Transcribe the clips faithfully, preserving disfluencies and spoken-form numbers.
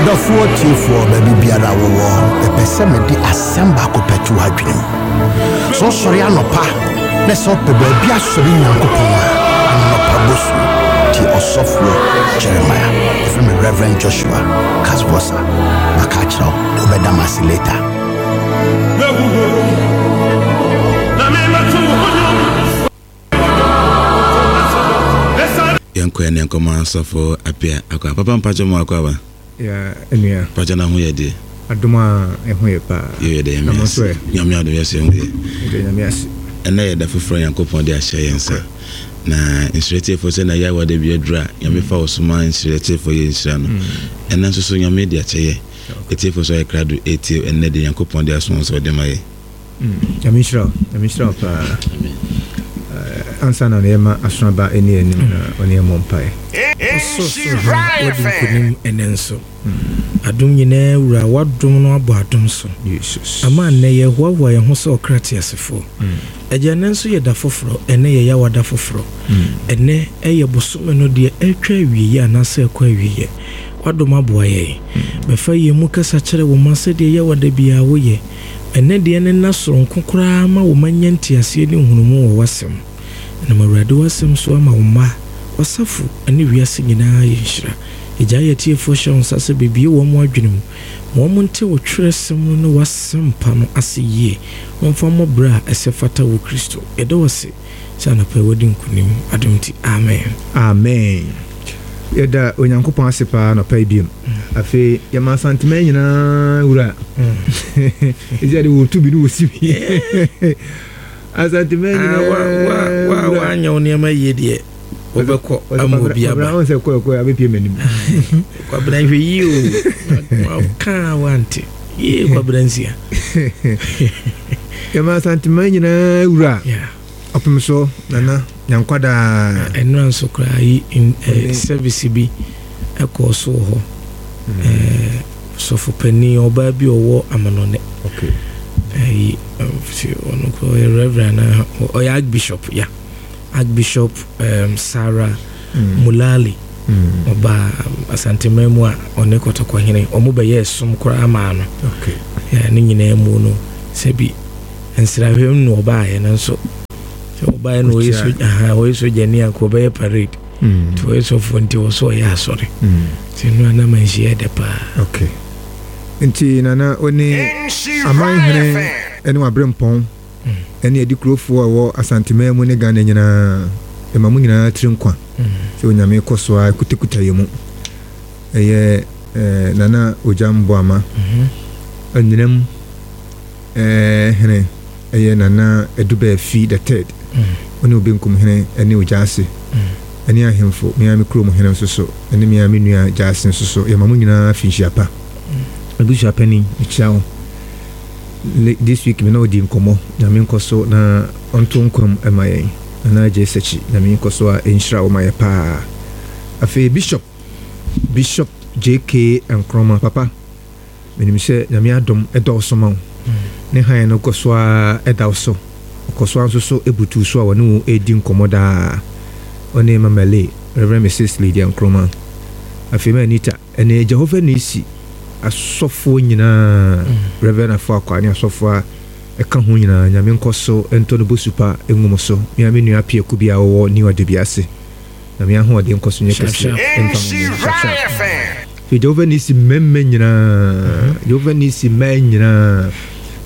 Ɔdɔfoɔ tiefoɔ, baabi biara wowɔ, ɛpɛ sɛ mede asɛm baako pɛ to w'adwene mu. Sɛ wosɔre anɔpa na sɛ wopɛ baabi asɔre Nyankopɔn a, anɔpa bosu tie Ɔsɔfoɔ Jeremiah. Ɛfrɛ me Reverend Joshua Casbosa. Maka akyerɛ wo, wobɛda m ase later. Yɛnkɔ yɛne nkɔmmɔ. Asɔfo Apia akɔ papa, mpakyɛ mu akɔ aba. Ya, enua. Mpakyɛ, na ho yɛ deɛ? Adom a, ɛho yɛ paa. Yɛyɛ dɛ. Na Nyame mo nso ase. Ɛ? Nyame adom, yɛsɛ ho yɛ. Ɛdɛ Nyame ase. Ɛnɛ yɛ da foforɔ Nyankopɔn de ahyɛ yɛn nsa na nhyira tiefoɔ sɛ na yɛ awade bi aduru a Nyame fa wo so ma nhyira tiefoɔ yɛ nhyira no. Ɛnɛ nso so Nyame de akyɛ yɛ ɛtiefoɔ so ayɛ krado ɛtie ɛnɛ de Nyankopɔn de aso sɛ ɔde ma yɛ. Nyame nhyira wo, Nyame nhyira wo paa. Eh, ansa na yɛma asoaba ani anim na ɔne yɛmmɔ mpaeɛ. Ɔsorosoro Hene, wadi nkonim ɛnɛ nso. Adom nyinaa Wura, w'adom no abɔ adom so Jesus. ama nnɛ yɛhoahoa yɛn ho sɛ ɔkra teasefoɔ. Agya, ɛnɛ nso yɛ da foforɔ. Ɛnɛ yɛ yɛawada foforɔ. Ɛnɛ ɛyɛ bosome no deɛ ɛtwa awieeɛ anaasɛ ɛkɔ awieeɛ. W'adom aboa yɛn. Bɛfa yɛn mu kasa kyerɛ wo ma sɛdeɛ yɛwada biara woyɛ. Ɛnɛ deɛ ne nna soronko koraa ma wo ma nya nteaseɛ ne nhunumu wɔ w'asɛm. Ɛnam Awurade w'asɛm so ama wo mma, w'asafo ne wiase nyinaa yɛ nhyira. Agya, yɛ atiefoɔ hyɛ wo nsa sɛ bebie wɔn mo adwene mu ma wɔn nte wo twerɛsɛm no ne w'asɛm pa no ase yie. Wɔmfa mmɔ berɛ a ɛsɛ fata wɔ Kristo. Yɛda wo ase sɛ anɔpa yi wadi nkonim. Adom nti, amen. Amen. Yɛda Onyankopɔn ase paa nɔpa yi biom. Afei yɛma Asantema nyinaa Wura ɛsi ade wɔtu bi ne wɔsi bi Asantema nyinaa wura. Woanyɛ wo nneɛma yie deɛ, wobɛkɔ ama obi aba. Kwabena, sɛ kɔɛkɔɛ abɛpie m'anim. Kwabena, hwɛ yie o, kaa wante yie, Kwabena nsia. Yɛma Asantema nyinaa Wura Yeah. Ɔpem so Nana Nyankwadaa. Ɛnora nso koraa yi in- eh, service bi ɛkɔɔ so wɔ hɔ. Eh, sɔfo panin ɔbaa bi a ɔwɔ amanɔne okay. ɛyi sɛ ɔno koraa ɔyɛ reverend anaa ɔyɛ archbishop ya, Archbishop um, Sarah mm. Mulali. Mm. Ɔbaa Asanteman mu a ɔne Kɔtɔkɔhene ɔmo bɛyɛ som koraa maa no. okay. Yeah, ne nyinaa mu no, sɛbi nsrahwɛm no ɔbaayɛ no nso sɛ ɔbaayɛ no ɔyɛ Ɔkyia. so aha, ɔyɛ sogyani anka ɔbɛyɛ parade Mm. nti ɔyɛ sɔfoɔ nti wɔ so ɔyɛ asɔre Mm. nti no anam nhyia dɛ paa. Okay, nti Nana, wo ne amanhene ne waberempɔn ɛne adi kurofoɔ a ɛwɔ Asanteman mu ne Ghana nyinaa, ɛma mo nyinaa tiri nkwa sɛ Onyame kɔ so a kutakuta yɛ mu. Ɛyɛ eh, Nana Ogya Mboama anyinam eh, hene, ɛyɛ Nana Adubaafi the Third, ɔne Obenkum hene ɛne Ogya ase ɛne ahemfo, mea me kurom hene nso so ɛne mea me nua gya ase nso so, yɛma mo nyinaa fi nhyia pa. Abusua panin, mekyia wo. Le- this week me na ɔdi nkɔmmɔ. Nyame nkɔ so na ɔnto nkwam ɛma yɛn. Nana Agye Sɛkyi, Nyame nkɔ so a ɛnhyira wo ma yɛ paa. Afei Bishop Bishop J K Nkrɔma papa, menim sɛ Nyame adom ɛdɔɔso ma wo ne han no kɔ so a ɛda wo so, ɔkɔ so a nso so ɛbutu so a wɔne wo ɛdi nkɔmmɔ daa. Ɔne Mamale, Reverend Missus Lydia Nkrɔma, afei ma Anita ɛne Jehovah Nisi asɔfoɔ nyinaa, Reverend Afo Akwa ne asɔfoɔ a ɛka ho nyinaa, Nyame nkɔ so ntɔ no bosu pa ɛngu mo so. Mea me nua Piaku bi a wɔwɔ New Ade ase, Nyame ahoɔden nkɔ so nyɛ Sharp, kɛseɛ sharp. ɛmfa mo mo. Sharp, sharp. Afei Jehovah Nisi mmarima nyinaa, Jehovah Nisi mmaa nyinaa,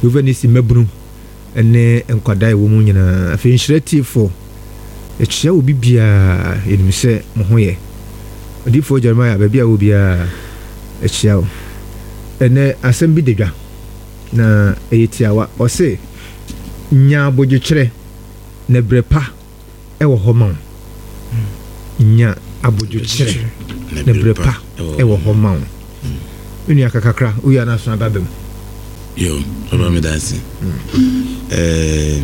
Jehovah Nisi mmabunu ɛne nkwadaa a ɛwɔ mu nyinaa, afei nhyira tiefoɔ, yɛkyia obi biara. Yɛnim sɛ mo ho yɛ. Odiyifoɔ Jeremiah, baabi a wɔ biara, ɛkyia wo. Ɛnɛ asɛm bi da dwa na ɛyɛ tiawa. Ɔse nya abodwokyerɛ na berɛ pa ɛwɔ hɔ ma wo. Nya abodwokyerɛ na berɛ pa ɛwɔ hɔ ma wo. Me nua, kakakra woyɛ no aso aba bam. Yo, papa, meda ase. Ɛɛ,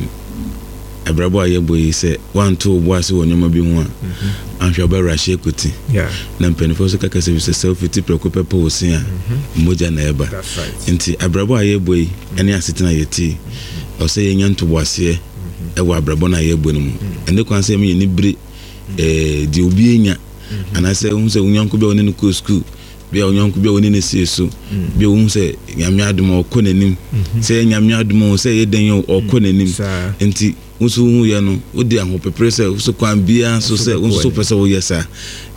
abrabɔ a yɛbɔ yi, sɛ woanto wo bo ase wɔ nneɛma bi ho a, anhwɛ wobɛwerɛ ahyɛ koti. Yeah na mpanimfoɔ nso kaka sɛ bi sɛ sɛ wofiti prɛko pɛ pɔ wo se a, mogya na ɛba. That's right. Nti abrabɔ a yɛbɔ yi ne asetena a yɛti, ɛwɔ sɛ yɛnya ntoboaseɛ ɛwɔ abrabɔ no a yɛbɔ no mu. Ɛne kwan sɛ yɛma yɛni bere ɛɛ deɛ obi anya anaasɛ wohu sɛ wo nyɔnko bi a wɔne no kɔɔ sukuu Bia onyɔnko bi a wɔne ne sie so bi a wohu sɛ Nyame adom a ɔkɔ n'anim, sɛ ɛyɛ Nyame adom o, sɛ ɛyɛ dɛn o, ɔkɔ n'anim. Saa. Nti wo nso wohu yɛ no, wode ahopepere sɛ wo so kwan biara so sɛ wo nso wopɛ sɛ woyɛ saa.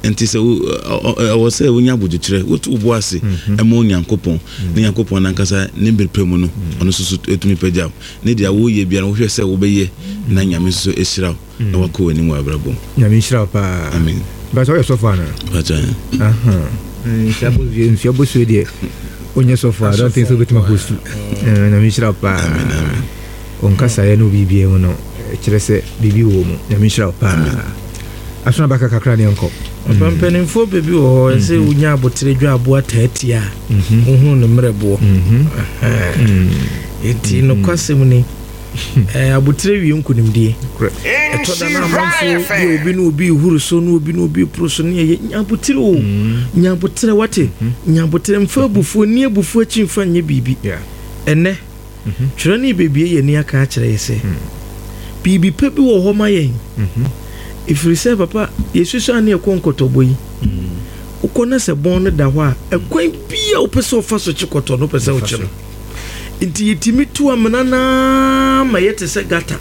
Nti sɛ wo- ɔ- ɔ- ɛwɔ sɛ wonya abodwokyerɛ, wotu wo bo ase ɛma Onyankopɔn, ne Nyankopɔn nankasa ne bere pɛ mu no, ɔno nso so ɛtumi pagya wo ne deɛ woyɛ biara no, wohwɛ sɛ wobɛyɛ na Nyame nso so ɛhyira wo na wakɔ w'anim wɔ abrabɔ mu. Nyame nhyira wo paa. Amen. Bàtà ɔyɛ sɔfo ana? Pagya. Aha. Nhyia bosuo, nhyia bosuo deɛ onyɛ sɔfo a, I don't think sɛ wobɛtumi ahostu. Nyame nhyira wo paa. Amen, amen. Ɔnkasaeɛ ne obibiara mu no, kyerɛ sɛ biribi wɔ mu. Nyame nhyira wo paa. Asono abaka kakra ne yɛnkɔ. Papa, mpanimfoɔ baabi wɔ hɔ ɛsɛ wonya abotere dwa aboa taatia a wohunu ne mmerɛboɔ. Nti nokwasɛm ni, eh, abotere wie nkonimdie. Ɛtɔ da no amanfo bi, obi ne obi huru so ne obi ne obi poro so ne ɛyɛ nya abotere o, nya abotere, wate, nya abotere, mfa abufuo ni abufuo akyi, mfa nyɛ biribi. Yeah. Ɛnɛ twerɛ ne bebie yɛ ni aka akyerɛ yɛ sɛ biribi pɛ bi wɔ hɔ ma yɛn, ɛfiri sɛ papa yɛsusu a ne yɛkɔ nkɔtɔbɔ yi, wokɔ na sɛ bɔn no da hɔ a, ɛkwan bi a wopɛ sɛ wofa so kye kɔtɔ no, wopɛ sɛ wokye no, nti yɛtumi tu amena naa ma yɛte sɛ gata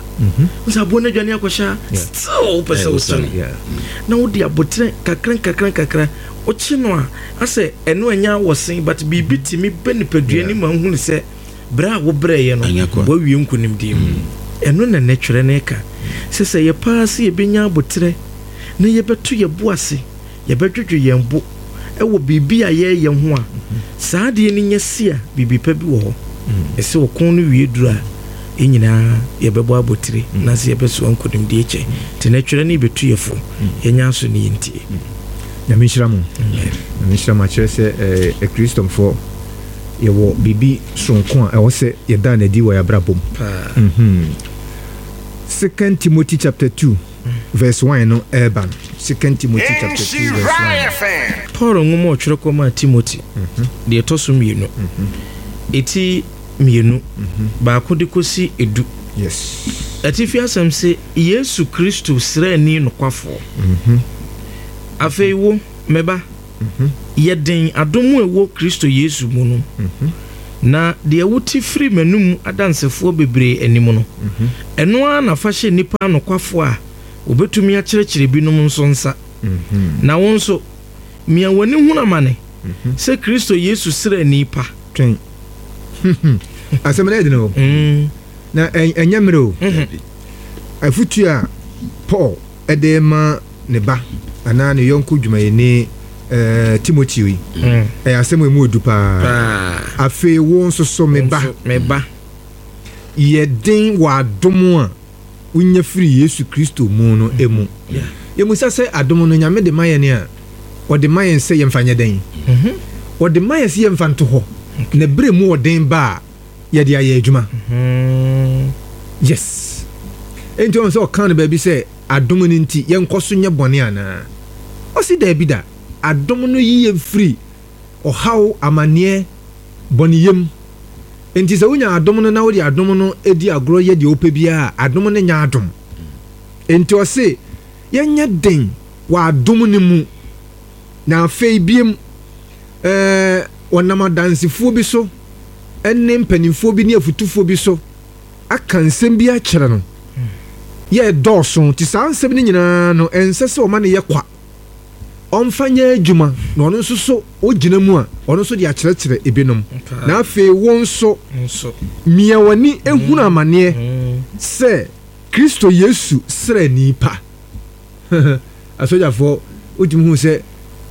sɛ aboɔ no adwane akɔhyɛ a, still wopɛ sɛ wokye no. Yeah. Na wode abotrɛ kakra nkakra nkakra wokye no a, asɛ ɛno ɛnyɛ awɔsen, but biribi tumi bɛ nipadua no ma wohunu sɛ berɛ a wobrɛeɛ no Ɛnyɛ kwa. woawie nkonimdie mu. Ɛno na nɛ twerɛ no ka sɛ sɛ yɛpaa sɛ yɛbɛnya abotrɛ na yɛbɛto yɛ bo ase, yɛbɛdwodwo yɛn bo ɛwɔ biribi a yɛreyɛ ho a, saa adeɛ no nyɛ si a, biribi pa bi wɔ hɔ. Ɛsɛ ɔko no wie duru a, yɛn nyinaa yɛbɛbɔ abotire na sɛ yɛbɛsoa nkonimdie kyɛ. Nti na twerɛ no yɛbɛtu yɛ fo, yɛnya aso ne yɛntie. Nyame nhyira mo. Nyame nhyira mo. Akyerɛ sɛ eh, akristofo yɛwɔ biribi soronko a ɛwɔ sɛ yɛda no adi wɔ yɛn abrabɔ mu. Paa. Mhm. Second Timothy chapter two verse one no ɛreba no. Second Timothy chapter two verse one. Paul nwoma a ɔtwerɛ kɔmaa Timothy deɛ ɛtɔ so mmienu, ɛti mmienu, baako de kɔsi edu. Yes. Atifi asɛm sɛ Yesu Kristo sraani nokwafoɔ. Afei wo, me ba, yɛ den adom a ɛwɔ Kristo Yesu mu no, na deɛ wote firi m'anum adansefoɔ bebree anim no, ɛno ara na fa hyɛ nnipa anokwafoɔ a wɔbɛtumi akyerɛkyerɛ binom nso nsa. Na wo nso, mia w'ani hunu amane sɛ Kristo Yesu sraani pa. Twɛn. Asɛm no yɛ den o. Mm. Na ɛ- ɛnyɛ mmerɛ o. Mhm. Afutu a Paul ɛde ma ne ba anaa ne yɔnko dwumayɛni eh, Timoteo yi, Mm. ɛyɛ asɛm a emu odu paa. Paa. Afei wo nso so, me ba, Nso, me ba, yɛ den wɔ adom a wonya firi Yesu Kristo mu no emu. Yeah. Yɛmusa sɛ adom no Nyame de ma yɛn a, ɔde ma yɛn sɛ yɛmfa nyɛ dɛn? Mhm. Ɔde ma yɛn sɛ yɛmfa nto hɔ na berɛ mu ɔden ba a, yɛde ayɛ adwuma. Mm. Yes, enti ɔhu sɛ ɔka no baabi sɛ adom no nti yɛnkɔ so nyɛ bɔne anaa? Ɔse daabi da. Adom no yi yɛn firi ɔhaw, amanneɛ, bɔneyam. Enti sɛ wonya adom no na wode adom no di agorɔ yɛ deɛ wopɛ biara a, adom no nyɛ adom. Enti ɔse yɛnyɛ den wɔ adom no mu. Na afei biem, ɛɛ ɔnam adansefoɔ bi so ne mpanimfoɔ bi ne afutufoɔ bi so aka nsɛm bi akyerɛ no yɛ dɔɔso. Nti saa nsɛm no nyinaa no, ɛnsɛ sɛ ɔma no yɛ kwa, ɔmfa nyɛ adwuma, na ɔno nso so ogyina mu a, ɔno nso de akyerɛkyerɛ ebinom. Na afei wo nso, Nso. Mia w'ani ehunu amanneɛ Mm. sɛ Kristo Yesu sraani pa. Asogyafoɔ, wotumi hu sɛ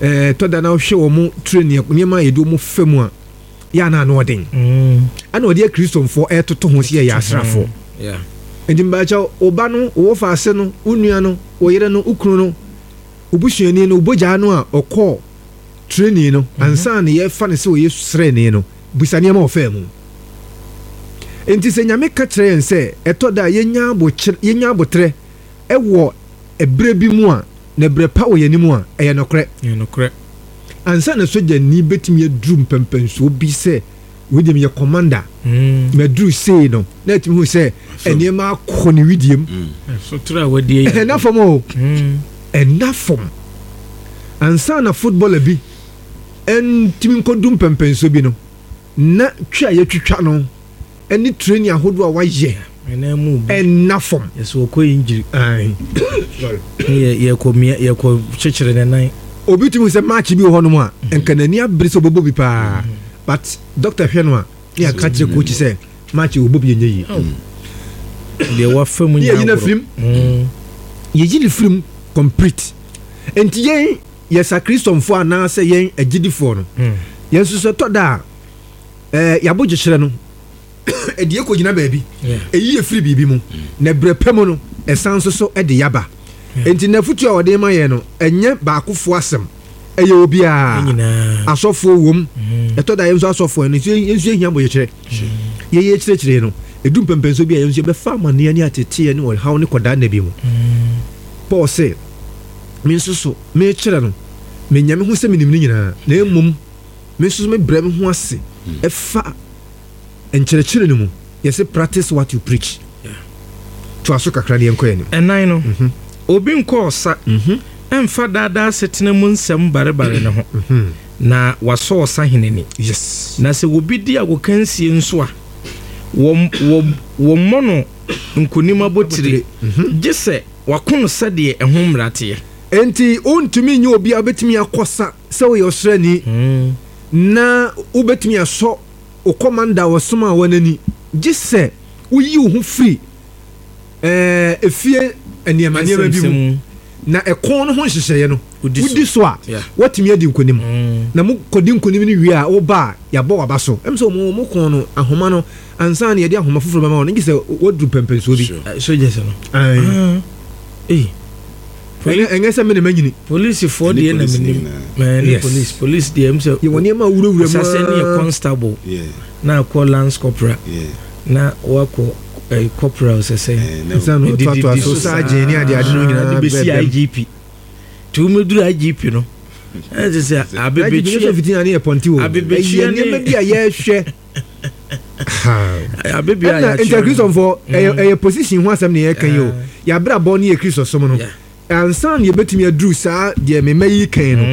ɛɛ tɔda na wohwɛ wɔn training, nneɛma a yɛde wɔn fa mu a, yɛ ana ano ɔden. Mm. Ɛna ɔde akristofo ɛtoto ho sɛ yɛyɛ asraafoɔ. Yeah. Nti mbaakyɛw, wo ba no, wo wɔfa no, wo nua no, wo yere no, wo kunu no, wo busuani no, wo bogyaa no a ɔkɔɔ training no ansa na yɛfa no sɛ ɔyɛ sraani no, busa nneɛma a ɔfaa mu. Nti sɛ Nyame ka kyerɛ yɛn sɛ ɛtɔ da a yɛnya abokyerɛ, yɛnya abotrɛ ɛwɔ ɛberɛ bi mu a, na ɛberɛ pa wɔ yɛn anim a, ɛyɛ nokorɛ. Ɛyɛ nokorɛ. Ansa na sogyani bɛtumi aduru mpɛmpɛnsoɔ bi sɛ wei deɛ meyɛ commander, Mm. maduru sei no, na ɛtumi hu sɛ nneɛma akɔ ne widiem. Sotoro a wadie yɛ. Ɛnna fam o. Mm. Ɛnna fam. Ansa na footballer bi Ɛntumi nkɔdu mpɛmpɛnso bi no na twi a yɛtwitwa no ɛne training ahodoɔ a wayɛ ɛnna fam. Yɛsɛ ɔkɔ injury. Yɛkɔ yɛkɔ kyekyere ne nan. Obi tumi sɛ match bi wɔ hɔnom a nka n'ani abere sɛ ɔbɛbɔ bi paa, but doctor hwɛ no a ne yɛaka kyerɛ coach sɛ match wɔbɔ bi ɛnyɛ yie. Deɛ wafa mu. Ne yɛyi no afirim, yɛyi no firim complete. Nti yɛn yɛsa Kristɔnfoɔ anaasɛ yɛn agyidifoɔ no, yɛn nso sɛ tɔ da a ɛɛ yɛabɔ gyehyerɛ no ɛde yɛ kɔgyina baabi, ɛyi yɛ firi biribi mu na berɛ pɛ mu no ɛsan nso so ɛde yaba. Nti n'afotu a ɔde ma yɛn no ɛnyɛ baakofoɔ asɛm, ɛyɛ obiara. Asɔfoɔ wom, ɛtɔ da yɛn nso asɔfoɔ no nso yɛn nso yɛhia abɔgyekyerɛ. Yɛyɛ kyerɛkyerɛ no ɛdu mpɛmpɛnso bi a yɛn nso yɛbɛfa amanneɛ ne ateteɛ ne ɔhaw ne kɔdaa nna bi mu. Paul sɛ me nso so mekyerɛ no menya me ho sɛ menim no nyinaa, na mmom me nso so mebrɛ me ho ase ɛfa nkyerɛkyerɛ no mu. Yɛsɛ practice what you preach. To aso kakra ne yɛnkɔ yɛn anim. Ɛnan no, obi nkɔ ɔsa ɛmfa daadaa setena mu nsɛm barebare ne ho na wasɔ ɔsa ni. Yes. Na sɛ obi di agokansie nso a wɔmmɔ no nkonim abotire gye sɛ wako no sɛdeɛ ɛho mmara teɛ. Enti wontumi nyɛ obi a wobɛtumi akɔsa sɛ woyɛ ɔsrani na wobɛtumi asɔ wo commander a wɔsoma a wɔn gye sɛ woyi wo ho firi ɛɛ efie nneɛma nneɛma bi mu na ɛkɔn no ho nhyehyɛeɛ no wodi so a wɔtumi adi nkonim. Na mo kɔdi nkonim no wie a woba a yɛabɔ waba so. Ɛm sɛ ɔmo ɔmo kɔn no ahoma no ansa na yɛde ahoma foforɔ bɛma wɔn gye sɛ wɔduru pɛmpɛnsoɔ bi. Soldiers no. Ayi. Ɛnyɛ sɛ mene manyini. Polisifoɔ deɛ na menim. Mɛ police police deɛ m sɛ. Yɛwɔ nneɛma a wurawura mu. Asase ne yɛ constable. Na akɔ lance corporal. Na wakɔ ɛɛ corporal sɛsɛ. Nsa na ɔtoatoa so sergeant ne ade ade no nyinaa bɛsi bɛɛ I G P. Nti womɛduru I G P no. Ɛsɛ sɛ abebetwie fitin ne yɛ pɔnte o. Abebetwie ne nneɛma bi a yɛhwɛ. Abebia yɛ akyerɛ. Nti Kristofo ɛyɛ ɛyɛ position ho asɛm ne yɛka yi o. Yɛabrabɔ ne yɛ Kristo som no. Ansa na yɛbɛtumi aduru saa deɛ mema yi kan no.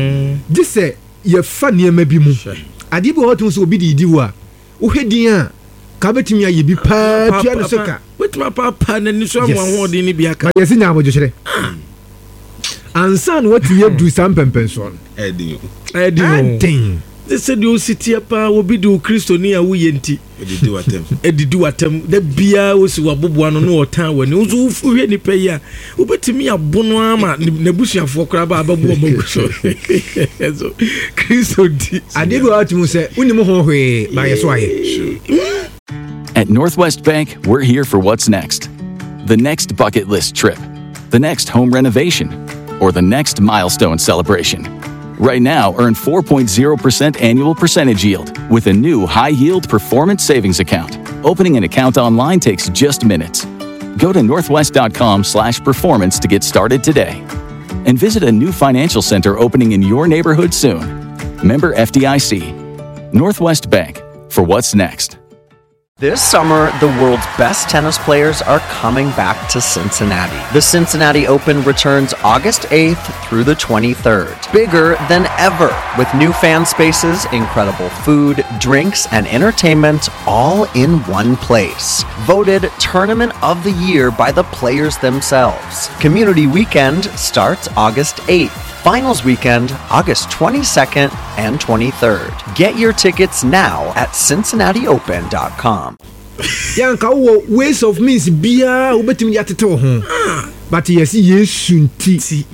Gye sɛ yɛfa nneɛma bi mu. Adeɛ bi wɔ hɔ to sɛ obi de di wo a, wohwɛ din a ka bɛtumi ayɛ bi paa tua ne so ka. Wetumi apapa n'ani so ama ahoɔden ne bi aka. Ma yɛsi nya abodwokyerɛ. Ansa na watumi aduru saa mpɛmpɛnsoɔ no. Ɛden o. Ɛden o. Ɛden. Sɛ deɛ osi teɛ paa obi de o Kristoni a woyɛ nti. Edidi watam. Edidi watam. Da biara osi waboboa no na ɔtan w'ani. Nso wohwɛ nipa yi a wobɛtumi abono ama n'abusuafoɔ koraa ba abɛboa ɔmo agu so. So Kristo nti. Adeɛ bi wɔ hɔ a sɛ wonim ho hwee ba yɛ so ayɛ. At Northwest Bank, we're here for what's next. The next bucket list trip, the next home renovation, or the next milestone celebration. Right now, earn four point zero percent annual percentage yield with a new high-yield performance savings account. Opening an account online takes just minutes. Go to northwest.com slash performance to get started today. And visit a new financial center opening in your neighborhood soon. Member F D I C. Northwest Bank, for what's next. This summer, the world's best tennis players are coming back to Cincinnati. The Cincinnati Open returns August eighth through the twenty-third. Bigger than ever, with new fan spaces, incredible food, drinks, and entertainment all in one place. Voted Tournament of the Year by the players themselves. Community Weekend starts August eighth. Finals Weekend, August twenty-second and twenty-third. Get your tickets now at cincinnati open dot com. Yanka wo ways of means bia wobetimi ya tete wo ho. But yes, Yesu nti.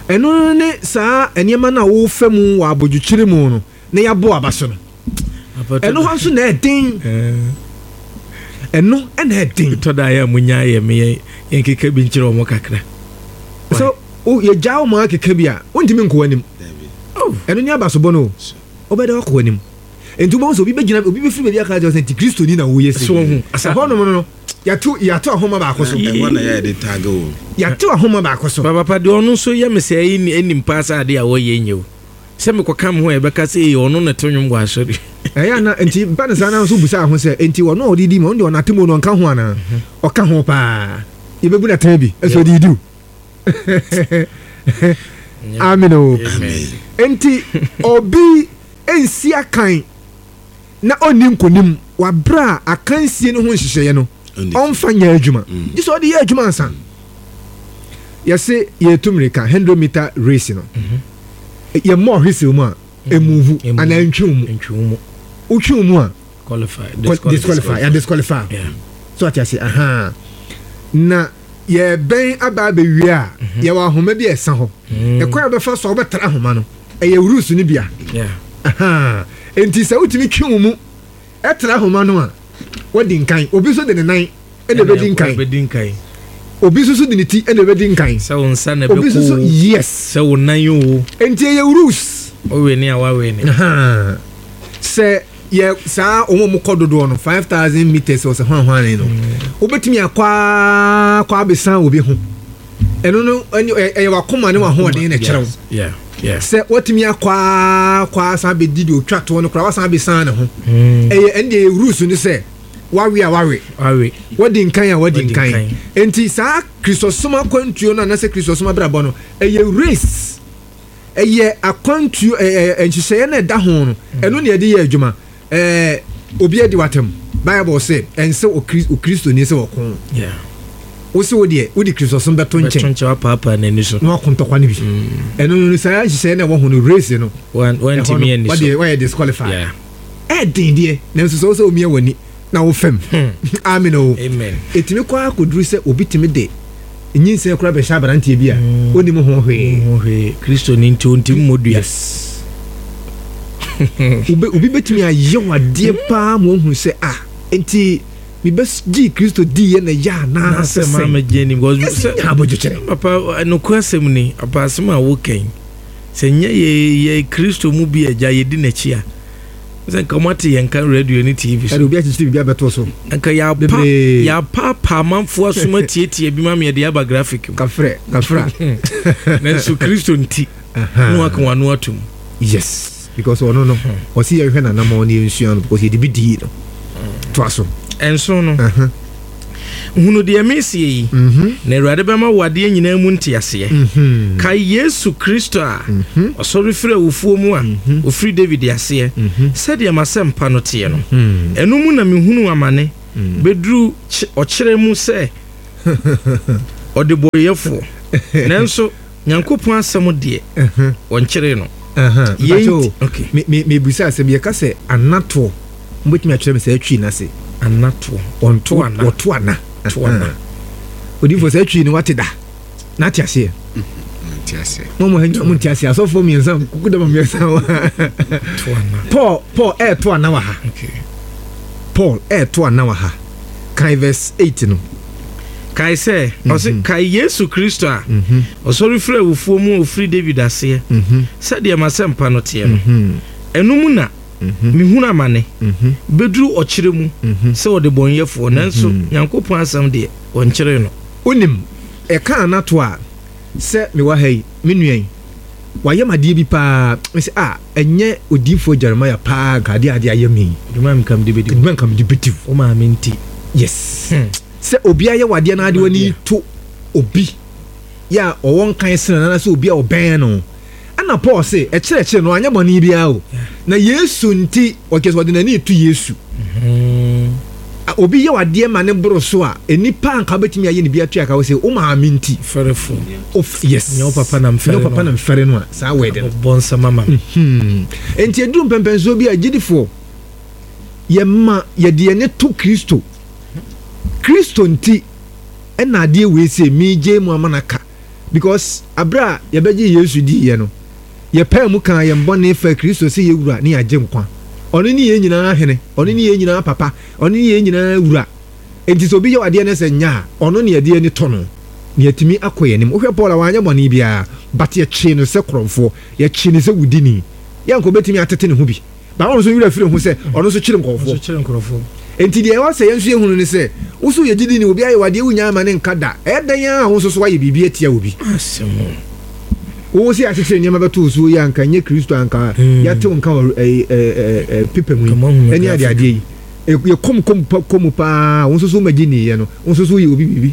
Eno ne saa enema na wo fa mu wa abodwokyere mu no na ya bo abaso no. Eno ho nso na edin. Eno na edin. To da ya munya ye me yenkeka bi nkire omo kakra. So o ye jawo ma keka bi a wontimi nko anim. Eno ni abaso bo no. Obeda wakɔ anim. Enti wo so obi begina obi befiri ba bi aka je sɛ Kristo ni na wo yesi. So hu asa ho no no yato yato ahoma ba akoso. E wona ya de tag o. Yato ahoma ba akoso. Papa pa de ono so ye me sɛ enim pa sa ade a wo ye nyew. Sɛ me kɔka me ho e bɛka sɛ e ono na to nwom gwa asɔre. Eh ya na enti ba na sa na so busa ho sɛ enti ono odidi ma ono na temo no nka ho ana. Ɔka ho pa. Yebebu na tan bi. Eso odidi. Amen o. Enti obi Ɛnsi akan na ɔnni nkonim wabrɛ a akansie no ho nhyehyɛeɛ no ɔmfa nyɛ adwuma gye sɛ ɔde yɛ adwuma ansa. Yɛse yɛtu mmirika hundred meter race no, yɛmmɔ ɔhwesɛw mu a ɛmove anaa ntwe wo mu, wotwe wo mu a disqualify, yɛ disqualify. So ate ase? Aha na yɛbɛn aba abɛwie a, yɛwɔ ahoma bi a ɛsa hɔ. Ɛkwan a bɛfa so a wobɛtra ahoma no, ɛyɛ rules no bia. Aha nti sɛ wotumi twe wo mu ɛtra ahoma no a, wadi nkan. Obi nso de ne nan ɛna ɛbɛdi nkan, obi nso so de ne ti ɛna ɛbɛdi nkan. Sɛ wo nsa na obi nso so ɛbɛkɔ, yes, sɛ wo nan o. Nti ɛyɛ rules. Wowe ne a wawe ne. Aha. Sɛ yɛ saa wɔn a wɔkɔ dodoɔ no five thousand meters ɔsɛ hwan hwan no, wobɛtumi akɔ aa kɔ abɛsan obi ho. Ɛno no ɛne ɛyɛ wakoma ne wahoɔden na ɛkyerɛw Yeah, yeah. sɛ watumi akɔ aa kɔ asan abɛdi deɛ otwa toɔ no koraa, wasan abɛsan ne ho. Ɛyɛ ɛne deɛ ɛyɛ rules no sɛ wawe a wawe, wawe, wadi nkan a wadi wadi nkan. nkan. Nti saa Kristosom akwantuo no anaasɛ Kristosom abrabɔ no, ɛyɛ race, ɛyɛ akwantuo, ɛɛ ɛɛ nhyehyɛeɛ no ɛda ho no, ɛno na yɛde yɛ adwuma. ɛɛ obi adi watam, Bible sɛ ɛnsɛ okri okristoni sɛ ɔko. Yeah. Wosi wo deɛ wode Kristosom bɛto bɛto nkyɛn nkyɛn, wapaapaa n'ani so na wako ntɔkwa no bi. Ɛno no, saa nhyehyɛeɛ no ɛwɔ ho no, race no, Wan- wantumi ɛhɔ ani no so. wɔde wɔyɛ disqualify. Yeah. Ɛɛden deɛ, nanso sɛ wo sɛ omia w'ani na wo fam. Amen o. Amen. Ɛtumi kɔ akɔduru sɛ obi tumi de nyinsɛn koraa bɛhyɛ aberanteɛ bi a ɔnim ho hwee. Ho hwee, Kristo ni nti ɔntimi mmɔ dua. Yes, obi obi bɛtumi ayɛ wadeɛ paa ma wahu sɛ ah, nti mebɛgye Kristo diiɛ na yɛ anaasɛ sɛ maa sɛ mɛgye ni because ɛsɛ sɛ nya abɔdwokyerɛ. Papa, nokorɛ asɛm ni. Papa, asɛm a wokan sɛ nyɛ yɛ yɛ Kristo mu bi agya yɛdi n'akyi a, sɛ nka moate yɛn ka radio ne T V so. Ɛde obi akyekyere biribi abɛto so. Nka yɛapa bebree. Yɛapaapaa amanfoɔ asom atietie bi ma me yɛde aba graphic mu. Kafrɛ kafra. Nanso Kristo nti na waka wano atom. Yes, because ɔno no ɔsi yɛhwɛ nanamɔ ne yɛnsua no because yɛde bi dii no toa so. Ɛnso no, Aha. hunu deɛ mesie yi, Mhm. na Awurade bɛma wo adeɛ nyinaa mu nteaseɛ. Mhm. Kae Yesu Kristo a ɔsɔre firi awufoɔ mu a ɔfiri David aseɛ, sɛdeɛ m'asɛmpa no teɛ no. Mhm. Ɛno mu na mehunu amane bɛduru kye- ɔkyerɛ mu sɛ ɔdebɔyɛfoɔ, nanso Nyankopɔn asɛm deɛ, wɔnkyeree no. Aha. Yei Mpakyɛ o, nti- okay. me me mebusa asɛm, yɛka sɛ anatoɔ, mobɛtumi akyerɛ me sɛ atwi n'ase? Anatoɔ. Ɔnto ana. Wɔto ana. To ana. Odiifo, sɛ atwi no wate da na ate aseɛ? Nte aseɛ. Mo mo ha nyina mo nte aseɛ, asɔfoɔ mmiɛnsa kuku dama mmiɛnsa wɔ ha. To ana. Paul Paul ɛɛto ana wɔ ha. Okay. Paul ɛɛto ana wɔ ha. Kan verse eight no. Kae sɛ ɔse kae Yesu Kristo a ɔsɔre firi awufoɔ mu a ɔfiri David aseɛ, sɛdeɛ m'asɛmpa no teɛ no. Ɛno mu na mehunu amane bɛduru ɔkyerɛ mu sɛ ɔdebɔnyɛfoɔ, nanso Nyankopɔn asɛm deɛ, wɔnkyeree no. Wonim ɛka anato a, sɛ mewɔ ha yi, me nua yi wayɛ m adeɛ bi paa, mesɛ a ɛnyɛ odiyifoɔ Jeremiah paa nka adeɛ adeɛ ayɛ me yi. Dwuma nka mede bɛdi wo. Dwuma nka mede bɛdi wo. Wo maame nti. Yes. Hmm. Sɛ obi ayɛ wadeɛ na ade w'ani to obi yɛ a ɔwɔ nkan sene no anaasɛ obi a ɔbɛn no, ɛna Paul se ɛkyerɛkyerɛ no anyɛ bɔne biara o, na Yesu nti ɔkyerɛ sɛ ɔde n'ani to Yesu. A- obi yɛ wadeɛ ma ne boro so a, nipa anka wobɛtumi ayɛ ne bi atua ka wo sɛ wo maame nti. Fɛrɛfo. Of yes. Nyɛ wo papa na mfɛre nyɛ wo papa no. Na mfɛre no a, saa wɛde no. Bɔ nsɛm ama me. Hmm. Enti ɛduru mpɛmpɛnsoɔ bi a, gyidifoɔ yɛma yɛde yɛne to Kristo. Kristo nti ɛna adeɛ wei sɛ megye mu ama no aka, because aberɛ a yɛbɛgye Yesu diiɛ no, yɛpɛɛ mu kaa yɛn bɔne fa Kristo sɛ yɛwura ne yɛagye nkwa. Ɔno ne yɛn nyinaa hene, ɔno ne yɛn nyinaa papa, ɔno ne yɛn nyinaa wura. Enti sɛ obi yɛ adeɛ no sɛ nyɛ a, ɔno ne yɛde ani tɔ no ne yɛtumi akɔ yɛn anim. Wohwɛ Paul a, wanyɛ bɔne biara, but yɛkyee no sɛ korɔmfoɔ, yɛkyee no sɛ wudini. Yɛnka obɛtumi atete ne ho bi ba, ɔno nso werɛ firi ho sɛ ɔno nso kyere nkɔɔfoɔ. Nso kyerɛ nkurɔfoɔ. Enti deɛ ɛwɔ sɛ yɛn nso yɛhunu ne sɛ wo so yɛ gyidi ni, obi ayɛ wadeɛ wonya ama ne nka da. Ɛyɛ dɛn a wo nso so wayɛ biribi atia obi? Asɛm wo sɛ yɛakyekyere nneɛma bɛto wo so yi, anka nyɛ Kristo anka yɛate wo nka wɔ ɛɛ, ɛɛ, ɛɛ, pepa mu yi Nka moahu me ɛne graphic. adeadeɛ yi. Ɛ- yɛkɔm kɔm pa kɔm paa, wo nso so womagye niiɛ no, wo nso so woyɛ obi biribi,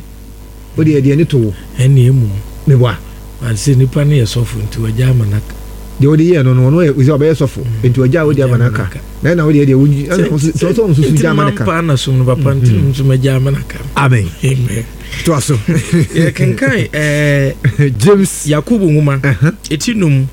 wode yɛde ani to wo. Ɛne emu meboa. Sɛ nipa no yɛ sɔfo nti wagya ama no aka. Deɛ wode yɛɛ no no, ɔno yɛ sɛ ɔbɛyɛ sɔfo, nti ɔgya a wode ama no aka na ɛna wodeɛ deɛ wogyi sɛ ɔsɛ ɔnso so gya ama no ka. Paa na som no papa, nti nso magya ama no aka. Amen. Amen. Toa so. Yɛkenkan ɛɛ James. Yakobo nwoma ɛti num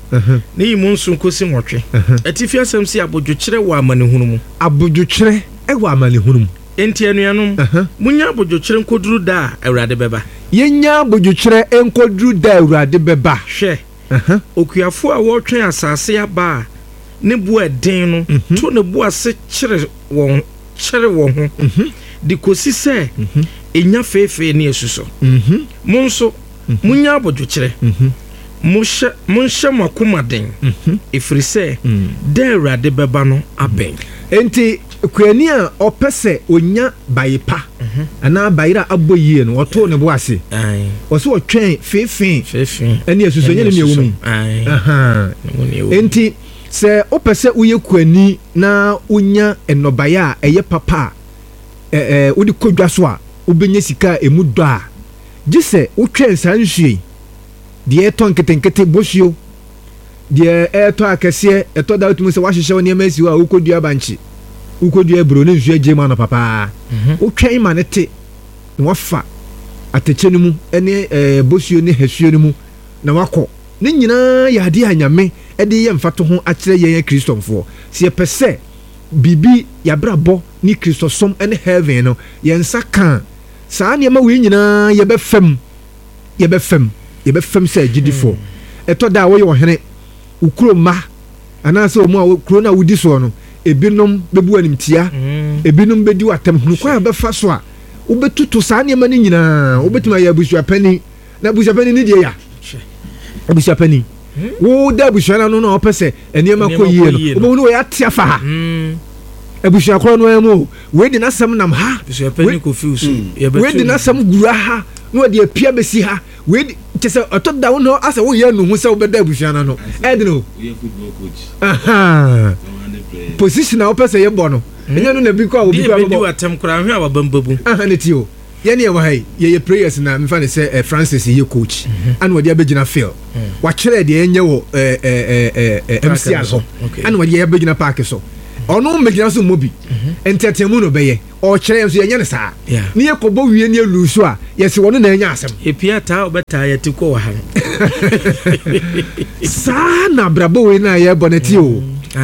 ne yi mu nson kɔsi nwɔtwe. Atifi asɛm si abodwokyerɛ wɔ amanehunu mu. Abodwokyerɛ ɛwɔ amanehunu mu. Enti anuanom, munya abodwokyerɛ nkɔduru da a Awurade bɛba. Yɛnya abodwokyerɛ nkɔduru da a Awurade bɛba. Hwɛ, okuafoɔ a wɔretwɛn asase aba a ne bo ɛden no to ne bo ase kyere wɔn kyere wɔn ho de kɔsi sɛ ɛnya feefee ne asusɔ. Mo nso munya abodwokyerɛ, mohyɛ monhyɛ mo akoma den, ɛfiri sɛ da Awurade bɛba no abɛn. Enti kuani a ɔpɛ sɛ onya baye pa anaa bayerɛ a abɔ yie no, ɔtoo ne bo ase, ɔsɛ ɔtwɛn feefee feefee ɛne asusɔ. Nyɛ ne ne ɛwɔ mu yi. Ae. Aha. Ne mu ne ɛwɔ mu. Enti sɛ wopɛ sɛ woyɛ kuani na wonya nnɔbaeɛ a ɛyɛ papa a ɛ- ɛ, wode kɔ dwa so a wobɛnya sika a ɛmu dɔ a, gye sɛ wotwɛn saa nsuo yi, deɛ ɛtɔ nketenkete bosuo, deɛ ɛtɔ akɛseɛ. Ɛtɔ da, wotumi sɛ woahyehyɛ wo nneɛma asi hɔ a wokɔdua bankye, wokɔdua aburo ne nsuo agye mu anɔ papaa. Wotwɛn ma ne te na wafa atɛkyɛ no mu ne ɛɛ bosuo ne hasuo no mu na wakɔ. Ne nyinaa yɛ adeɛ a Nyame de yɛ mfato ho akyerɛ yɛn Kristɔnfoɔ sɛ yɛpɛ sɛ biribi yɛabrabɔ ne Kristosom ne heaven no yɛn nsa ka saa nneɛma wei nyinaa, yɛbɛfam yɛbɛfam yɛbɛfam sɛ agyidifoɔ. Ɛtɔ da a woyɛ ɔhene, wo kuro mma anaasɛ ɔmo a kuro no a wodi soɔ no, ebinom bɛbu animtia, ebinom bɛdi w'atam. Hunu kwan a bɛfa so a wobɛtutu saa nneɛma no nyinaa. Wobɛtumi ayɛ abusuapani na abusuapani ne deɛ ya abusuapani, woda abusua no ano na ɔpɛ sɛ nneɛma kɔ yie no, wobɛhu no wɔyɛ ate afa ha abusua korɔ no ara mu o. Wei de n'asɛm nam ha, wei de n'asɛm gura ha na wɔde apia bɛsi ha. Wei de kyɛ sɛ ɔtɔ da wo no asɛ woyɛ nuhu sɛ wobɛda abusua no ano ɛde no position a wopɛ sɛ yɛbɔ no, ɛnyɛ no na bi kɔ a obi kɔ a bɛbɔ. Atɛm koraa hwɛ a wabambabu. Aha ne ti o. Yɛne yɛwɔ ha yi, yɛyɛ players na mefa ne sɛ eh, Francis yɛ coach ana wɔde abɛgyina field, wakyerɛ deɛ yɛnyɛ wɔ eh, eh, eh, eh, M C R so, ana wɔde yɛ abɛgyina park so. Ɔno mmɛgyina so mmɔ bi, ntɛtɛmu no bɛyɛ ɔkyerɛ yɛn so, yɛnyɛ no saa ne yɛkɔbɔ wie ne yɛlu so a, yɛsɛ wɔno na ɛnya asɛm. Epia taa ɔbɛtaa yɛte kɔ wɔ ha no. Saa na abrabɔ wei no a yɛbɔ no ɛte o.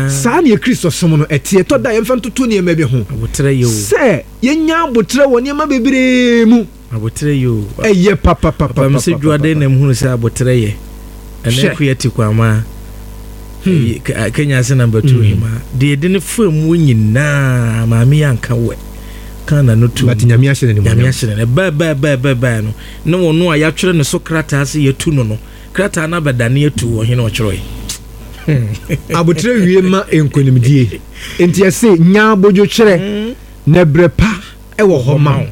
Saa ne yɛ Kristo som no ɛte. Ɛtɔ da yɛmfa ntoto nneɛma bi ho abotrɛ yɛ o. Sɛ yɛnya abotrɛ wɔ nneɛma bebree mu. Abotrɛ yɛ o. Ɛyɛ papapapa. Papa sɛ dwuade na mhunu sɛ abotrɛ yɛ ɛnɛ Hwɛ. Koyɛ te kwama Kenya ase number two hema deɛ yɛde ne fa mu nyinaa, maame yɛ anka wɛ ka na no tu. But Nyame ahyɛ no Nyame animuonyam. ahyɛ no bɛɛ bɛɛ bɛɛ bɛɛ bɛɛ no ne wɔn a yɛatwerɛ ne so krataa sɛ yɛtu no no krataa no abɛdane atu ɔhene ɔtwerɛe. Abotrɛ wie ma nkonimdie, nti yɛse nya abodwokyerɛ na berɛ pa ɛwɔ hɔ ma wo.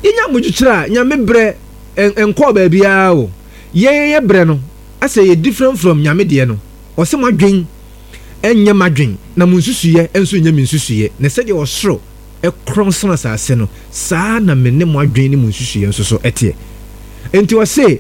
Yɛnya abodwokyerɛ a, Nyame berɛ ɛn- ɛnkɔɔ baabiara o. Yɛn yɛ berɛ no asɛ yɛ different from Nyame deɛ no. Ɔsɛ mo adwen ɛnyɛ m'adwen na mo nsusuyɛ nso nyɛ me nsusuyɛ, na sɛdeɛ ɔsoro ɛkorɔn sene asase no, saa na me ne mo adwen ne mo nsusuyɛ nso so ɛteɛ. Nti ɔse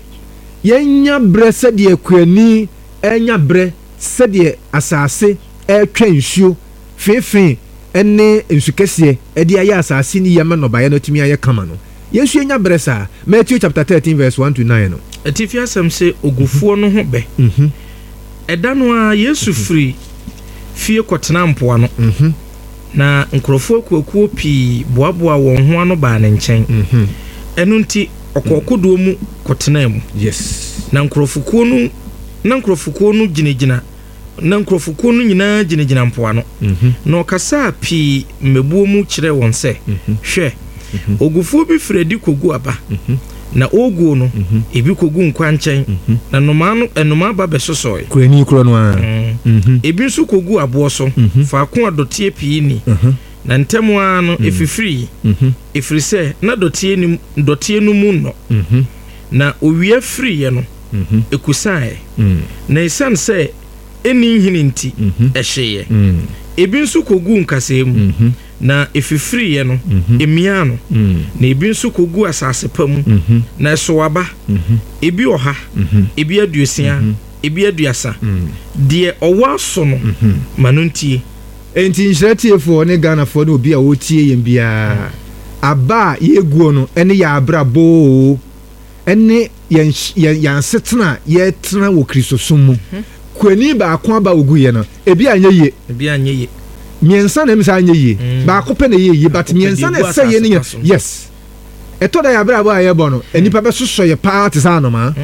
yɛnya berɛ sɛdeɛ kuani ɛnya berɛ, sɛdeɛ asase ɛretwa nsuo feefee ɛne nsu kɛseɛ ɛde ayɛ asase ne yie ama nnɔbaeɛ no atumi ayɛ kama no, yɛn nso yɛnya berɛ saa. Matthew chapter thirteen verse one to nine no. Atifi asɛm sɛ ogufoɔ no ho bɛ. Mhm, ɛda no a Yesu firi fie kɔtena mpoano mhm, na nkurɔfoɔ akuakuo pii boaboa wɔn ho ano baa ne nkyɛn. mhm. Ɛno nti ɔkɔɔ kodoɔ mu kɔtenaa mu. Yes na nkurɔfokuo no na nkurɔfokuo no gyinagyina na nkurɔfokuo no nyinaa gyinagyina mpoano. Mhm, Na ɔkasaa pii mmabuo mu kyerɛɛ wɔn sɛ, mhm, hwɛ, ogufoɔ bi firi adi kɔgu aba. Mhm, Na ɔreguo no, mhm, ebi kɔgu nkwa nkyɛn, mhm. na nnomaa no nnomaa ba bɛsosɔe. Kurani korɔ no ara. Mm. Mhm, Ebi nso kɔgu aboɔ so Mhm. faako a dɔteɛ pii ni, mhm, na ntɛm ara no ɛfifirii, mhm, ɛfiri sɛ na dɔteɛ nim dɔteɛ no mu nnɔ. mhm, Na owia firiiɛ no, mhm, ɛkusaeɛ, mm, na ɛsiane sɛ ɛnni nhini nti, mhm, ɛhyeeɛ. mm, Ebi nso kɔguu nkasɛɛ mu, mhm, na ɛfifiriiɛ no, mhm, ɛmiaa no. mm, Na ebi nso kɔguu asase pa mu, mhm, na ɛsow aba, mhm, ebi ɔha, mhm. ebi aduosia, Ebi aduasa. Deɛ ɔwɔ aso no, ma no ntie. Enti nhyira tiefoɔ ne Ghanafoɔ ne obi a wɔtie yɛn biara, aba a yɛguo no ɛne yɛ abrabɔ oo, ɛne yɛn yɛn yɛn asetena a yɛtena wɔ Kristosom mu. Kuani baako aba ogu yɛ no, ebi anyɛ yie. Ebi anyɛ yie. Mmiɛnsa na ɛmu sɛ anyɛ yie, baako pɛ na ɛyɛ yie, but Baako pɛ mmiɛnsa deɛ na egu ɛsɛ yie ne asase yɛ pa so. Yes, ɛtɔ da yɛ abrabɔ a yɛbɔ no, nnipa bɛsosɔ yɛ paa te sɛ anomaa,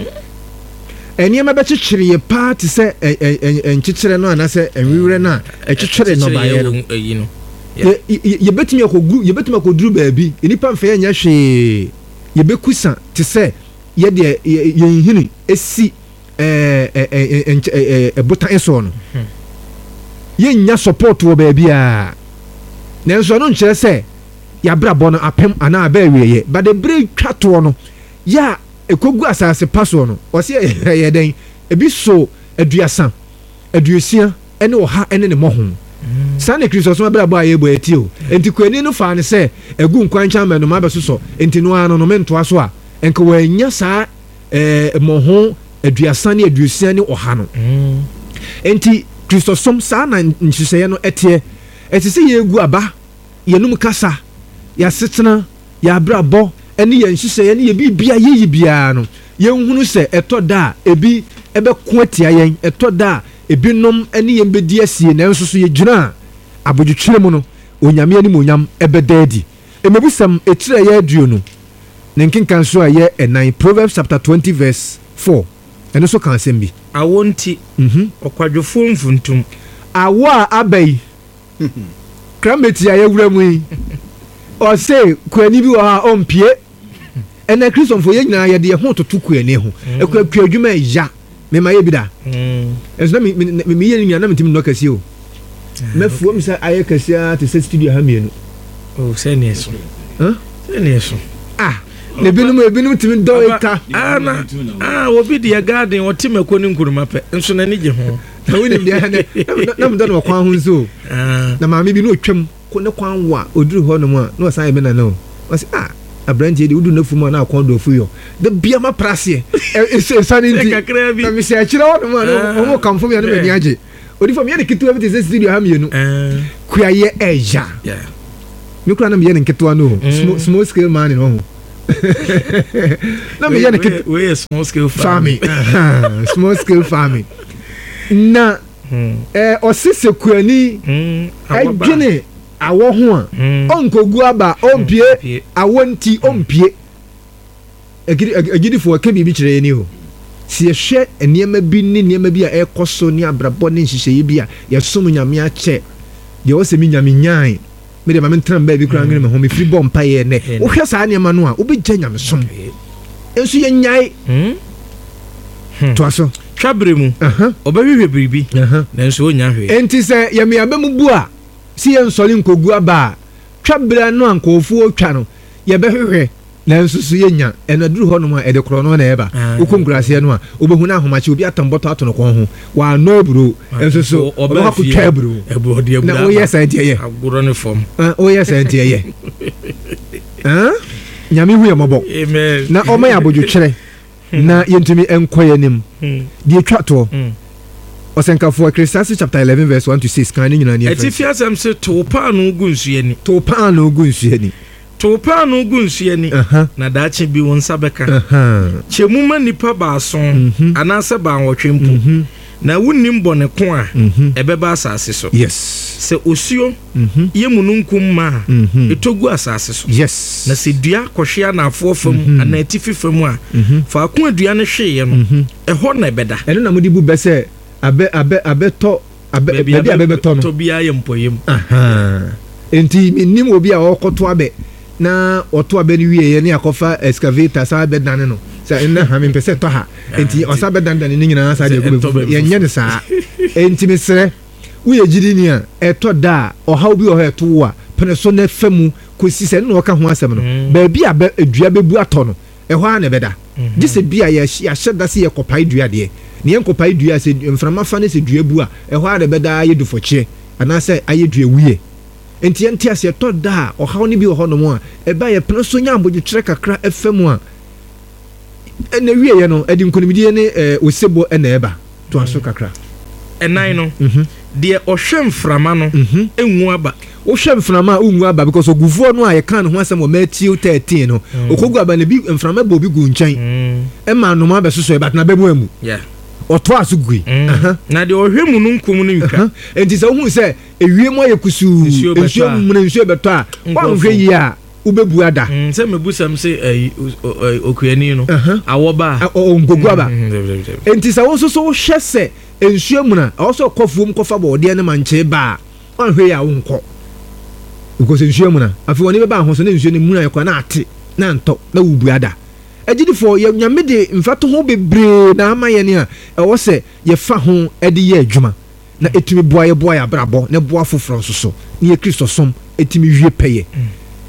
nneɛma bɛkyekyere yɛ paa te sɛ ɛ- ɛ- ɛ- nkyekyerɛ no anaasɛ nwiwerɛ no a ɛkyekyere nnɔbaeɛ no. Ɛkyekyere yɛ wɔ ɛyi no. Yɛ- yɛ- yɛbɛtumi akɔgu, yɛbɛtumi akɔduru baabi, nnipa mfa yɛnyɛ hwee, yɛbɛkusa te sɛ yɛdeɛ yɛ- yɛn hini esi ɛɛ ɛ- ɛ- ɛ- nkyɛ- ɛ- ɛ- ɛbotan soɔ no, yɛnnya support wɔ baabiara. Nanso ɛno nkyerɛ sɛ yɛabrabɔ no apem anaa aba awieɛ, but ebere twa toɔ no yɛ a ɛkɔgu asase pa soɔ no, ɔsɛ ɛyɛ dɛn? Ebi so aduasa, aduosia ɛne ɔha ɛne ne mmɔho. Saa na Kristosom abrabɔ a yɛbɔ ɛti o. Enti kuani no faa ne sɛ ɛgu nkwankyɛn ama nnoma bɛsosɔ, enti no ara no no mentoa so a nka wɔanya saa ɛɛ mmɔho aduasa ne aduosia ne ɔha no. Enti Kristosom saa na nhyehyɛeɛ no ɛteɛ. Ɛte sɛ yɛgu aba, yɛnum kasa, yɛasetena, yɛabrabɔ ɛne yɛn nhyehyɛeɛ ne yɛ biribia yɛyi biara no, yɛnhunu sɛ ɛtɔ da a ebi ɛbɛko atia yɛn, ɛtɔ da a ebinom ɛne yɛn bɛdi asie, nanso so yɛgyina a abodwotwerɛ mu no, Onyame animuonyam ɛbɛda adi. Mmebusɛm etiri a ɛyɛ aduonu ne nkenkan so a ɛyɛ ɛnan, Proverbs chapter twenty verse four, ɛno nso ka asɛm bi. Awɔ nti Mhm. ɔkwadwofoɔ mfuntum. Awɔ a aba yi, climate a yɛwura mu yi, ɔse kuani bi wɔ hɔ a ɔmpie. Ɛnɛ Kristofo yɛn nyinaa yɛde yɛn ho toto kuani ho. Ekua kua adwuma ɛya mema yɛ bi da, ɛnso na mi mi mi mi yɛ ne nyinaa na mi ti mi nɔ kɛseɛ o. Mɛfuo mi sɛ ayɛ kɛseɛ te sɛ studio ha mmienu. Oh, sɛneɛ so. Huh? Sɛneɛ so. Ah, na ebinom ebinom tumi dɔ eka. Ah, na ah, obi deɛ garden ɔte mako ne nkuruma pɛ nso n'ani gye ho. Na wonim deɛ ɛnɛ na mi dɔ no wɔ kwan ho nso o. Ah, na maame bi na otwam ko ne kwan wa oduru hɔ nom a na ɔsan yɛ me nana o. Ɔsɛ ah, aberanteɛ de wodu n'afu mu a na akɔn do afu yɔ da bia ma praseɛ ɛsa ne nti kakra bi. Na mehyɛ akyerɛ hɔ nom a na Ah. ɔmo kamfo mi a na m'ani agye. Odi fam yɛ ne ketewa bi te sɛ studio ha mmienu. Ah, Kuayɛ ɛya. yeah. Me kura na meyɛ ne nketewa no o, small, small scale mining ɔho na meyɛ ne ketewa. Wei yɛ small scale farming. Farming, small scale farming na Hmm. ɛɛ ɔse sɛ kuani Hmm. Awɔ ba. ɛdwene awɔ ho a, Hmm. ɔnkɔgu aba, ɔmpie. Ɔmpie. Awɔ nti ɔmpie. Agidi- ag- agyidifoɔ ɛka biribi kyerɛ yɛn ni o. Sɛ yɛhwɛ nneɛma bi ne nneɛma bi a ɛrekɔ so ne abrabɔ ne nhyehyɛeɛ bi a yɛsom Nyame akyɛ deɛ, ɔsɛ me Nyame nyae me deɛ ma mentena baabi koraa nwene me ho mefiri bɔ mpayɛ. Nnɛ wohwɛ saa nneɛma no a, wobɛgya nyamesom nso yɛnyae. Hmm. Toa so. Twa bere mu Aha, ɔbɛhwehwɛ biribi aha. nanso ɔnya hwee. Enti sɛ yɛmeaba mu bu a sɛ yɛnsɔre nkɔgu aba a, twa berɛ no a nkɔɔfoɔ twa no, yɛbɛhwehwɛ nanso so yɛnya. Ɛno aduru hɔ nom a ɛde korɔ no na ɛba. Ah. Wokɔ nkuraseɛ no a, wobɛhu no ahomakye obi atam bɔtɔ ato no kɔn ho, waanɔ aburo nso so Ɔbaa ɔbɛkɔ fie. akɔtwa aburo. Aburo ɔde aburo Na aba. woyɛ saa nti ɛyɛ agorɔ ne fam. Ah, woyɛ saa nti ɛyɛ. Ah, Nyame hu yɛ mmɔbɔ. Amen. Na ɔma yɛ abodwotwerɛ na yɛntumi nkɔ yɛ anim. Hmm. Deɛ twa toɔ, Hmm. Ɔsɛnkafoɔ, Ecclesiastes chapter eleven verse one to six, kan ne nyinaa ne yɛmfa Atifi asɛm sɛ tow paano gu nsuo ani. To paano gu nsuo ani. Tow paano gu nsuo ani Aha, na daakye bi wo nsa bɛka. aha. Kyɛ mu ma nnipa baason Mhm. anaasɛ baanwɔtwe mpo, Mhm, na wonnim bɔne ko a mhm. ɛbɛba asase so. Yes sɛ osuo Mhm, yɛ mununkum ma a, mhm. ɛtɔ gu asase so, yes na sɛ dua kɔhwe anaafoɔ fam Mhm. anaa atifi fam a, Mhm, faako a dua no hweeɛ no, mhm. ɛhɔ na ɛbɛda. Ɛno na mode bu bɛ sɛ abɛ abɛ abɛtɔ abɛ baabi a abɛbɛtɔ no tɔ biara yɛ mpɔyɛ mu. Aha. Enti menim obi a ɔkɔto abɛ na ɔto abɛ no wieɛ ne akɔfa excavator saa bɛdane no sɛ ɛnɛ ha mempɛ sɛ ɛtɔ ha, enti ɔsa bɛdanedane ne nyinaa saa deɛ Sɛ ɛgu ɛtɔ bɛfufu. baabi. Yɛnyɛ no saa. Enti mesrɛ woyɛ gyidini a, ɛtɔ da a ɔhaw bi wɔ hɔ a ɛto wo a, pene so na fa mu kɔsi sɛ ɛno na ɔka ho asɛm no. Mm. Baabi a bɛ dua bɛbu atɔ no, ɛhɔ ara na ɛbɛda, gye sɛ bi a yɛahy- yɛahyɛ da sɛ yɛkɔpae dua deɛ ne yɛnkɔpae dua a, sɛ mframa fa ne sɛ dua bu a, ɛhɔ ara na ɛbɛda ayɛ dufɔkyeɛ anaasɛ ayɛ dua wie. Nti yɛnte aseɛ, ɛtɔ da a ɔhaw no bi wɔ hɔnom a ɛba, yɛpene so nya abodwokyerɛ kakra ɛfa mu a, ɛna wieɛ no ɛde nkonimdie ne ɛɛ osebɔ ɛna ɛba. To aso kakra. Ɛnan no, deɛ ɔhwɛ mframa no ngu aba. Wohwɛ mframa a, wongu aba, because ogufoɔ no a yɛka ne ho asɛm wɔ Matthew thirteen no, ɔkɔgu aba no bi, mframa bɔ obi gu nkyɛn, ɛma anoma bɛsosɔ, but na bɛmu amu. Yeah. Ɔtoa so gui. Aha. Na deɛ ɔhwɛ mu no nkum no ntwa. Nti sɛ wohu sɛ ewiem ayɛ kusuu, nsuo bɛtɔ nsuo a, muna, nsuo bɛtɔ a, woanhwɛ yie a, wobɛbu ada. Mm, sɛ mebusɛm sɛ ɛyi, o- o- okuani no Aha. awɔ ba a Ɔ- ɔ- nkogu aba. Mm, dabi, dabi, dabi. Nti sɛ wo nso so wohwɛ sɛ nsuo muna, ɛwɔ sɛ ɔkɔ fuom kɔfa bɔɔdeɛ ne mankyee ba a, woanhwɛ yie a, wonkɔ, because nsuo muna. Afei wɔne bɛba ho so na nsuo no muna yɛ kɔ na ate na ntɔ na wobu ada. Agyidifoɔ, yɛ Nyame de mfatoho bebree na ama yɛn a ɛwɔ sɛ yɛfa ho de yɛ adwuma na ɛtumi boa yɛ, boa yɛ abrabɔ na boa foforɔ nso so ne yɛ Kristo som ɛtumi wie pɛyɛ.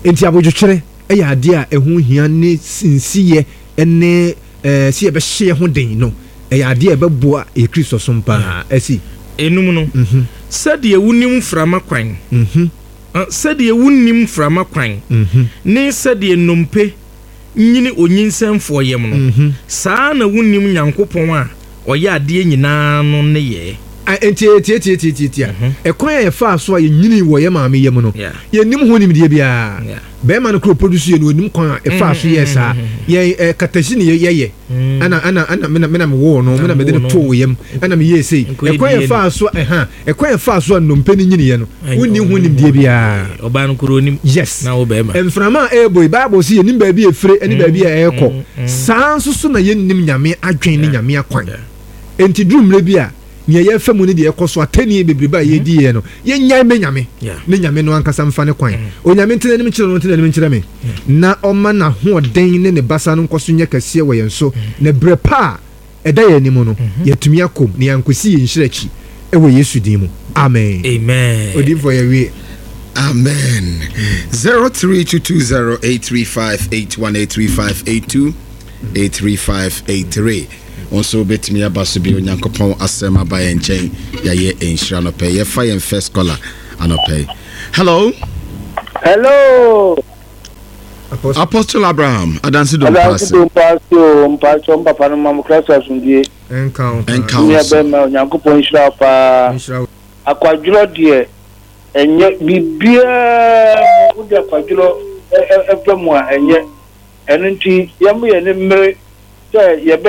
Nti abodwokyerɛ ɛyɛ adeɛ a ɛho hia, ne nsiyɛ ne ɛɛ sɛ yɛbɛhyɛ yɛ ho den no, ɛyɛ adeɛ a ɛbɛboa yɛ Kristo som paa ɛsi. Enum no, Mhm, sɛdeɛ wonim mframa kwan, mhm, ah, sɛdeɛ wonnim mframa kwan mhm, ne sɛdeɛ nnompe nyini onyinsɛnfoɔ yam no, mhm. saa na wonnim Nyankopɔn a ɔyɛ adeɛ nyinaa no nneyɛɛ. Ah, nti tietietietietie a, ɛkwan a yɛfaa so a yɛnyini wɔ yɛ maame yam no, Yeah. yɛnnim ho nimdeɛ biara. Yeah. Bɛrima no kuro produce yɛ no, onim kwan a ɛfaa so yɛɛ saa. Yɛn ɛ katasi ne yɛyɛ, ɛna ɛna ɛna mena mena mewoo no, mena mede no woo no. too yam, ɛna meyɛɛ sei. Nkɔyɛ ɛkwan D N A. yɛfaa so, ɛha ɛkwan yɛfaa so a nnompe no nyiniɛ no, wonni ho nimdeɛ biara. Ɔbaa no koro onim. Yes. Na wo bɛrima. Mframa a ɛrebɔ yi, Bible sɛ yɛnim baabi a ɛfire ne baabi a ɛrekɔ. Saa nso so na yɛnnim Nyame adwen ne Nyame akwan. Enti duru mmerɛ bi a, nea yɛfa mu ne deɛ ɛkɔ so, atɛnnie bebrebe a yɛdi yɛ no, yɛnyae mɛ Nyame Yeah. ne Nyame no ankasa mfa ne kwan. Onyame ntena anim kyerɛ no, ntena anim nkyerɛ me, na ɔma n'ahoɔden ne ne basa no nkɔ so nyɛ kɛseɛ wɔ yɛn so, na berɛ pa a ɛda yɛn anim no, yɛatumi akɔm na yɛankɔsi yɛn nhyira akyi, ɛwɔ Yesu din mu, amen. Amen. Odiyifoɔ, yɛwie. Amen. Zero three two two zero eight three five eight one eight three five eight two eight three five eight three. Nso bɛtumi aba so bi. Onyankopɔn asɛm aba yɛn nkyɛn, yɛayɛ nhyira nɔpɛ. Yɛfa yɛn first caller anɔpɛ yi. Hello. Hello. Apostle. Apostle Abraham Adansi. Adansi. Dompaase. Dompaase o, mpatsɔ, mpapa no mam Christ asomdue. Ɛnka wo. Ɛnka wo. Nua so. bɛrima, Onyankopɔn nhyira wo paa. Nhyira wo. Akwadworɔ deɛ, ɛnyɛ biribiara mu wode akwadworɔ ɛ- ɛ- ɛfa mu a ɛnyɛ. Ɛno nti yɛmo yɛ ne mmere sɛ yɛbɛyɛ.